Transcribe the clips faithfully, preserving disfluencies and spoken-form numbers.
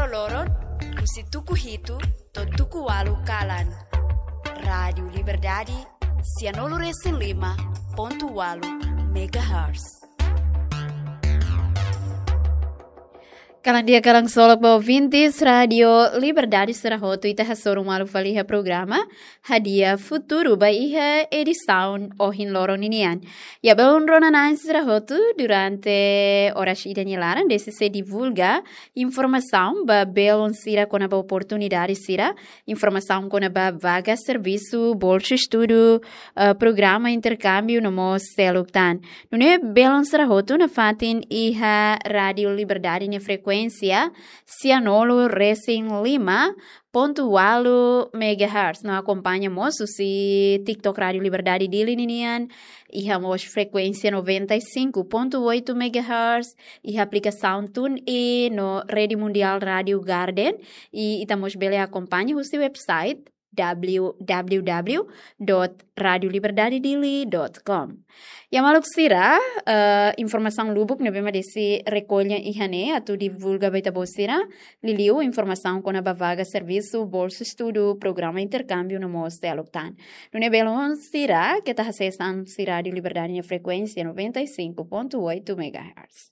loron, husi tuku hitu to'o tuku ualu kalan. Rádiu Liberdade, sianulu resin lima pontu ualu megahertz. Kalan di'ak, kalan solok ba ouvintes Rádiu Liberdade sira hotu, ita hasoru malu fali iha programa Hadi'a Futuru ba iha edisaun ohin loron ninian. Ya, belun rona-na'in sira hotu, durante oras ida nia laran, desde sei divulga informasaun ba belun sira kona-ba oportunidade sira, informasaun kona-ba vaga servisu, bolsa estudu, eh, programa interkámbiu no mós seluk tan. Nune'e belun sira hotu nafatin iha Rádiu Liberdade nia frekuénsia, sianulu resin lima pontu ualu megahertz. No akompaña mós husi TikTok Rádiu Liberdade Dili ninian, iha mós frekuénsia noventa e cinco ponto oito megahertz, iha aplikasaun TuneIn no Rede Mundial Rádiu Garden, i ita mós bele akompaña husi website w w w dot radio liberdade dili dot com. Ya maluk sira, eh, informasaun lubuk ne'ebé mak desde rekolla iha ne'e atu divulga ba ita-boot sira, liuliu informasaun kona-ba vaga servisu, bolsa estudu, programa interkámbiu no mós seluk tan. Nune'e belun sira, keta hasees an husi Rádiu Liberdade nia frekuénsia noventa e cinco ponto oito megahertz.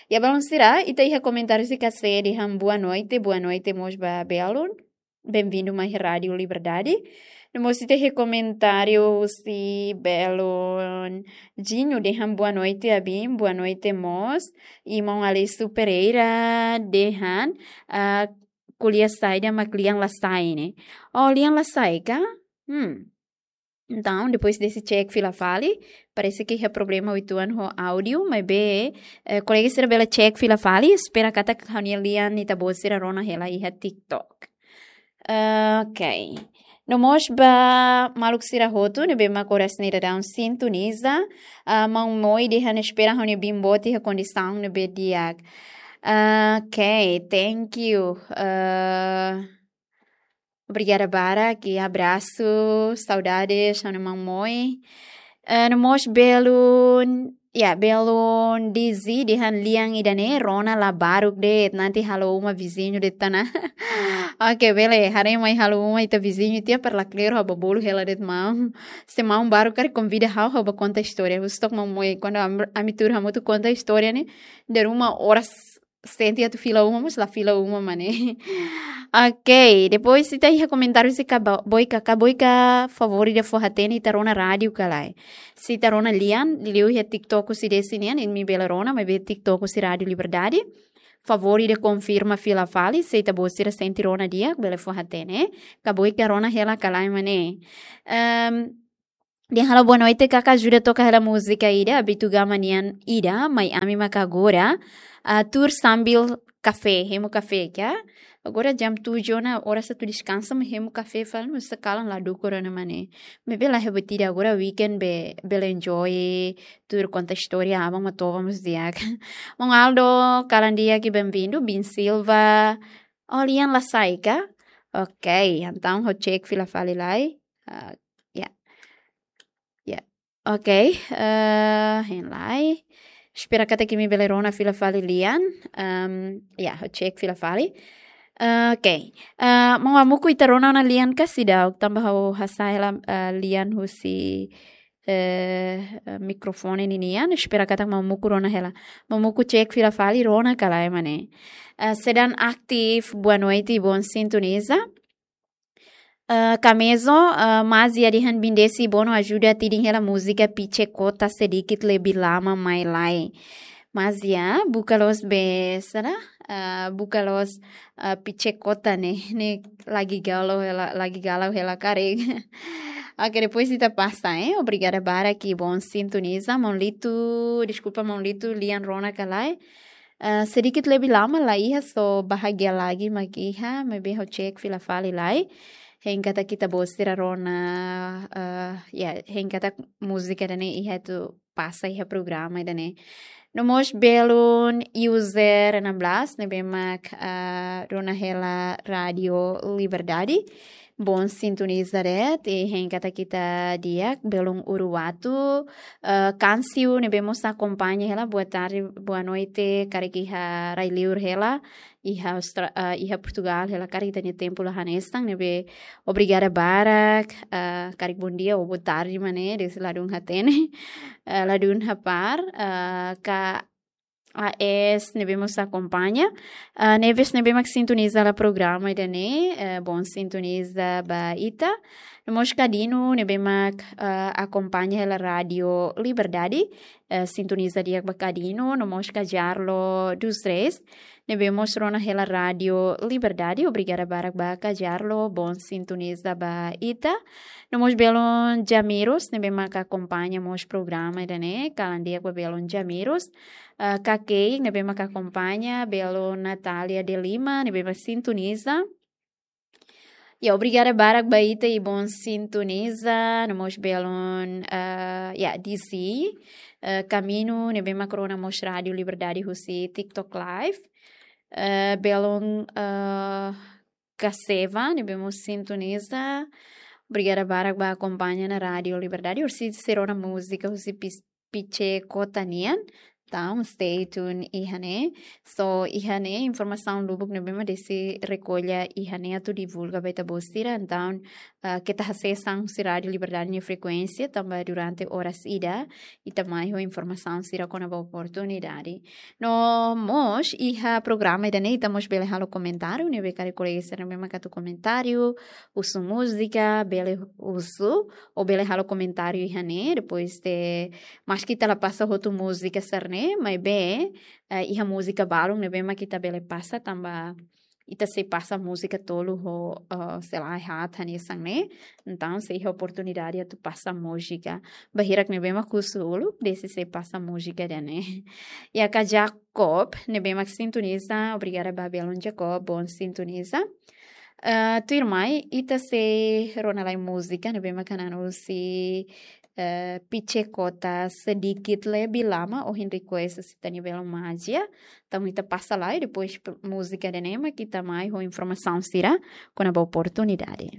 Ya belun sira, ita iha komentáriu sira ka sei dehan boa noite, boa noite mós ba belun. Bem-vindo mai Rádiu Liberdade. No mós ita iha komentáriu husi belun Jinho dehan boa noite, abin, boa noite mós. I maun Alessio Pereira dehan, ah, ko'alia saida mak lian la sai ne'e. Oh, lian la sai ka? Hmm. Entaun, depois desde check fila fali, parese ke iha problema uitoan ho áudiu, maibé, eh, kolega sira bele check fila fali, espera katak ha'u-nia lian ita-boot sira rona hela iha TikTok. Ah, ok. No mós ba maluk sira hotu ne'ebé mak oras ne'e daudaun sintoniza, ah, maun Moi dehan espera ha'u-nia biin boot iha kondisaun ne'ebé di'ak. Ah, ok, thank you. Ah, obrigada barak, i abrasu, saudades, ha'u-nia maun Moi. Eh, no mós belun, ya, belun Dizzy dehan lian ida-ne'e rona la baruk de'it, nanti halo uma viziñu de'it ona. Ok, bele, haree mai halo uma ita viziñu tiha para la kleru ha'u bá bolu hela de'it maun. Se maun baruk karik konvida ha'u, ha'u bá konta istória. Husi to'ok maun Moi, kuandu am-, ami tuur hamutuk konta istória ne'e, dala ruma oras sente atu fila uma, mas la fila uma mak ne'e. Ok, depois ita iha komentáriu husi Ka Bo-, Boika, Ka Boika, favór ida fó hatene ita rona rádiu ka lae. Se ita rona lian, liuliu iha TikTok husi Desi nian, imi bele rona, maibé TikTok husi Rádiu Liberdade. Favór ida konfirma fila fali, se ita-boot sira sente rona di'ak, bele fó hatene. Ka Boika rona hela ka lae mak ne'e. Ehm, Dehan halo boa noite, kaka ajuda toka hela múzika ida, Abitu Gama nian ida, mai ami maka agora, ah, tuur sambil kafé, hemu kafé ka. Agora jam tujuh ona, oras atu deskansa, mai hemu kafé fali, mas sakalan la dukur ona mak ne'e. Maibé la hemu ida, agora weekend be, bele enjoy, tuur konta istória, aban mak toba mós di'ak. Maun Aldo, kalan di'ak i bem-vindu, Bin Silva. Oh, lian la sai ka? Ok, entaun ha'u check fila fali lai. Ah, ya. Ya. Ok, eh, hein lai. Espera katak imi bele rona fila fali lian. Ehm, ya, ha'u check fila fali. Eh, ok. Eh, maun Amuku, ita rona ona lian ka seidauk, tanba ha'u hasa'e hela, eh, lian husi, eh, eh, mikrofone ninian. Espera katak maun Amuku rona hela. Maun Amuku check fila fali rona ka lae mak ne'e. Eh, Sedan Aktif, boa noite, bom sintoniza. Eh, Kamezo, eh, Mazia dehan Bin Desi, bonu ajuda tidin hela múzika Pichekota sedikit lebih lama mai lai. Mazia, buka loos be, sara? Eh, buka loos, eh, Pichekota ne'e, ne'e lagi galau hela, lagi galau hela karik. Ok, depois ita pasa, eh. Obrigada barak i bom sintoniza. Maun Litu, deskulpa maun Litu, lian rona ka lae. Eh, sedikit lebih lama la iha, só bahagia lagi mak iha, maibé ha'u check fila fali lai. Hein katak ita-boot sira rona, eh, ya, hein katak múzika ida-ne'e iha atu pasa iha programa ida-ne'e. No mós belun user enam belas, ne'ebé mak, eh, rona hela Rádiu Liberdade. Bom sintoniza de'it, hein katak ita di'ak, belun Uluwatu, eh, Kansiu ne'ebé mós akompaña hela, boa tarde, boa noite, karik iha rai-liur hela, iha Austra-, eh, iha Portugal hela, karik ita-nia tempu la hanesan, ne'ebé obrigada barak, eh, karik bom dia ou boa tarde mak ne'e, desde ladún hatene, eh, ladún hapar, eh, ka A S ne'ebé mós akompaña. Ah, Neves ne'ebé mak sintoniza hela programa ida-ne'e, eh, bom sintoniza ba ita. No mós Kadino ne'ebé mak, ah, akompaña hela Rádio Liberdade, eh, sintoniza di'ak ba Kadino. No mós Kajarlo dos Reis ne'ebé mós rona hela Rádio Liberdade. Obrigada barak ba Kajarlo, bom sintoniza ba ita. No mós belun Jamiros ne'ebé mak akompaña mós programa ida-ne'e, kalan di'ak ba belun Jamiros. Ah, Kakei ne'ebé mak akompaña, belun Natália de Lima ne'ebé mak sintoniza. Ya, obrigada barak ba ita i bom sintoniza, no mós belun, ah, ya, D C, eh, Kaminu ne'ebé mak rona mós Rádio Liberdade husi TikTok Live. Eh, belun, eh, Kaseva ne'ebé mós sintoniza. Obrigada barak ba akompaña ona Rádio Liberdade. Orsida sei rona múzika husi Pis-, Piche Kota nian. Entaun, stay tuned iha ne'e. So, iha ne'e informasaun lubuk ne'ebé mak Desi rekolla iha ne'e atu divulga ba ita-boot sira. Entaun, ah, keta hasees an husi Rádio Liberdade nia frekuénsia, tanba durante oras ida ita mai ho informasaun sira kona-ba oportunidade. No mós iha programa ida-ne'e ita mós bele halo komentáriu, ne'ebé karik kolega sira ne'ebé mak atu komentáriu, husu múzika, bele husu, ou bele halo komentáriu iha ne'e, depois de, maski ita la pasa hotu múzika sira-ne'e, maibé, eh, iha múzika balun ne'ebé mak ita bele pasa, tanba ita sei pasa múzika tolu ho, eh, sei la haat hanesan ne'e. Entaun, sei iha oportunidade atu pasa múzika. Ba hirak ne'ebé mak husu uluk, Desi sei pasa múzika ida-ne'e. Ya ka Jacob, ne'ebé mak sintoniza, obrigada ba belun Jacob, bom sintoniza. Eh, tuirmai, ita sei rona lai múzika, ne'ebé mak hanan husi, eh, Piche Kota Sedikit Lebih Lama, ohin request husi ita-nia belun Magia. Entaun ita pasa lai, depois p-, múzika ida-ne'e mak ita mai ho informasaun sira kona-ba oportunidade.